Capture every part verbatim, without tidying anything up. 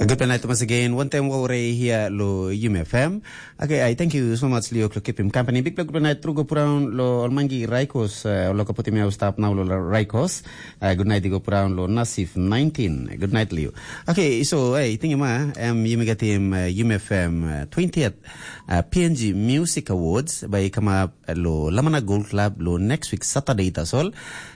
Good night once again. One time over here lo Yum F M. Okay, I thank you so much Leo lo keep him company. Big big night through go put down lo Almangi Raikos, uh, lo kaputi me stop now lo Raikos. Uh, good night go put down lo Nasif nineteen. Good night Leo. Okay, so hey, think ma um you may get him uh, Yum F M uh, twentieth uh, P N G Music Awards by come up lo Lamana Gold Club lo next week Saturday tasol.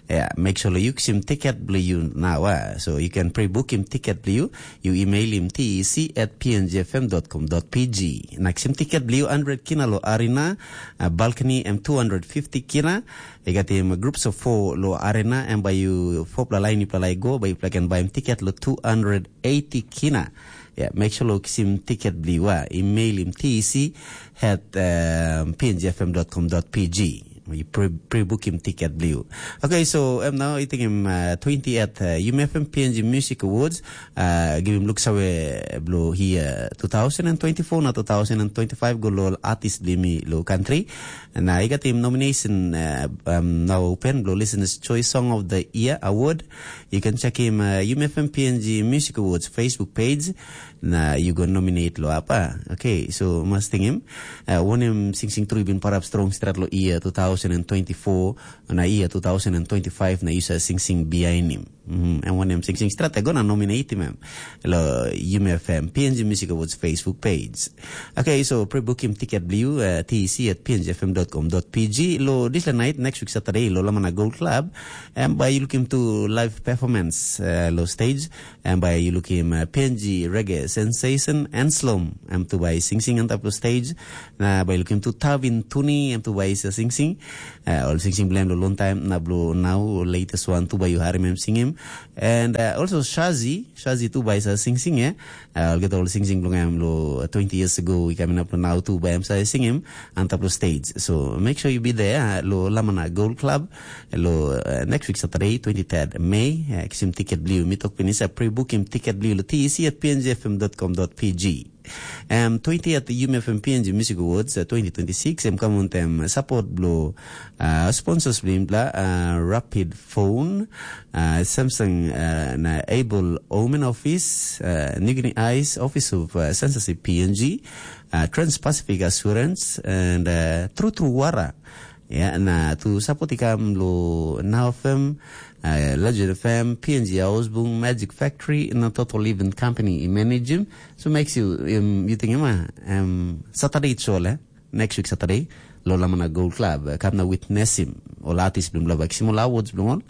Yeah, make sure you kisim ticket bli you now. Uh. So you can pre-book him ticket bli you. You email him T E C at P N G F M dot com dot P G. Na kisim ticket bli you hundred kina lo arena, uh, balcony em two hundred fifty kina. You got him groups of four lo arena and by you four pla line you pla go by you can buy him ticket lo two hundred eighty kina. Yeah, make sure lo kisim ticket bli you. Uh. Email him T E C at um, P N G F M dot com dot P G. You pre- pre-book him ticket bli you. Okay, so um, now I think him uh, twenty at uh, U M F M P N G Music Awards. Uh, give him looks away blo here two thousand twenty-four na two thousand twenty-five go lo artist bli mi lo country. And uh, I got him nomination uh, um, now open blo listeners choice song of the year award. You can check him uh, U M F M P N G Music Awards Facebook page. Na you go nominate lo apa. Okay, so mas tingim. Uh, wanem sing sing tru bin parap strong strat lo year two thousand twenty-four na year two thousand twenty-five na you sa sing sing behind him. Mm-hmm. And wanem sing sing strat go na nominate him lo U M F M P N G Music Awards Facebook page. Okay, so pre-book him ticket bli you uh, T E C at P N G F M dot com dot P G lo this night next week Saturday lo Lamana Gold Club. And by you looking to live performance uh, lo stage. Em bai yu lukim uh, P N G Reggae Sensation and Slom. Em tu bai sing sing antap lo stage. Na bai lukim tu Tavin Tuni, em tu bai sa sing sing. Uh, ol sing sing blem lo long time na blo now latest one tu bai yu harim em singim. And uh, also Shazi, Shazi tu bai sa sing sing eh. Uh, ol get ol sing sing blong em lo twenty years ago, we coming up lo now tu bai em sa singim antap lo stage. So make sure you be there uh, lo Lamana Gold Club. Lo uh, next week Saturday, twenty-third May, uh, kisim ticket bliu. Mi tok pinis, uh, pre-book him ticket bliu lo T E C at P N G F M dot com dot P G. Um, twenty at the U M F M P N G Music Awards uh, twenty twenty-six, em come on them support blo uh, sponsors blim bla uh, Rapid Phone, uh, Samsung uh, na Able Omen Office, uh, Nigni Eyes Office of uh, Censorship P N G, uh, Trans-Pacific Assurance, and uh, True True Wara. Ya, na tu sapot i kam lo Now F M, uh, Legend F M, P N G Ausbung, Magic Factory, na Total Event Company i manage him. So makes you, um, you think, ma, um, Saturday it's all, eh? Next week Saturday, lo Lamana Gold Club, uh, kam na witness him. Ol artist blum lo bak, sim ol awards blum ol.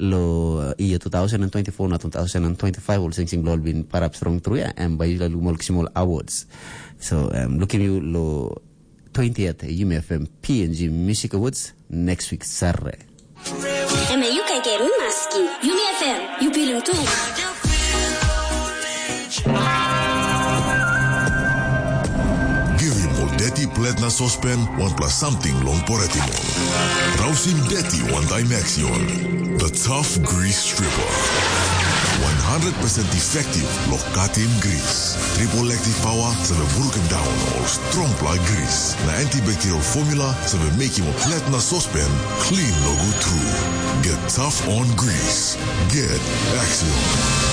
Lo uh, year two thousand twenty-four na two thousand twenty-five ol sing sing lo bin parap strong through ya, and by la lumol sim ol awards. So um, looking you lo twentieth U M F M P N G Music Awards next week Saturday. Eme yu kaikai mi maski. Yumi F M, yu pilim tu. Givim ol deti plet na sospen wanpela samting long poretim ol. Rausim deti wantaim Axion. The Tough Grease Stripper. One hundred percent effective lo katim gris. Triple active power save brukim daun ol strongpela gris. Na antibacterial formula save mekim ol plet na sospen clean nogut tru. Get tough on grease. Get Axion.